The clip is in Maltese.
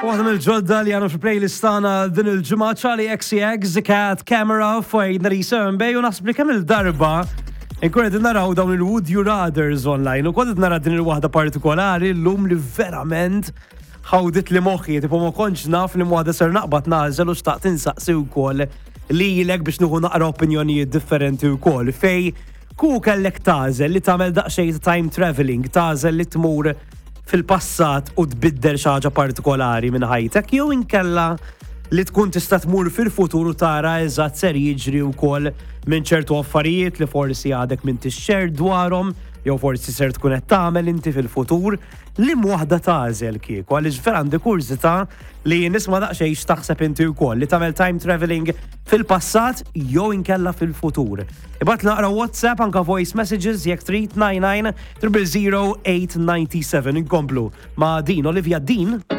Waħda mill-ġodda li għandna fil-playlist tagħna din il-ġimgħa Charli XCX, The Cat Camera fuq 97 Bay u naħseb li kemm il-darba nkun qegħdin naraw dawn il-Would You Rathers online u kont qed nara din il-waħda partikolari llum li verament ħawdit li moħħi, tipo ma kontx naf li waħda ser naqbad nagħżel u xtaqt insaqsi wkoll lilek biex nieħu naqra opinjonijiet differenti wkoll fej ku kellek tagħżel li tagħmel daqsxejn ta' time traveling, tagħżel li tmur fil-passat u tbiddel xi ħaġa partikolari minn ħajtek jew inkella li tkun tista' tmur fil-futur u tara eżatt ser jiġri wkoll minn ċertu affarijiet li forsi għadek minn tixxer dwarhom jew forsi ser tkun qed tagħmel inti fil-futur li waħda tagħżel kieku għaliex vera għandi kurżità li nisma' daqsxejn x'taħseb inti wkoll li tagħmel time traveling fil-passat jew inkella fil-futur. Ibgħat naqra WhatsApp anka voice messages jekk trid 99 000 897 inkomplu ma' din Olivia Dean.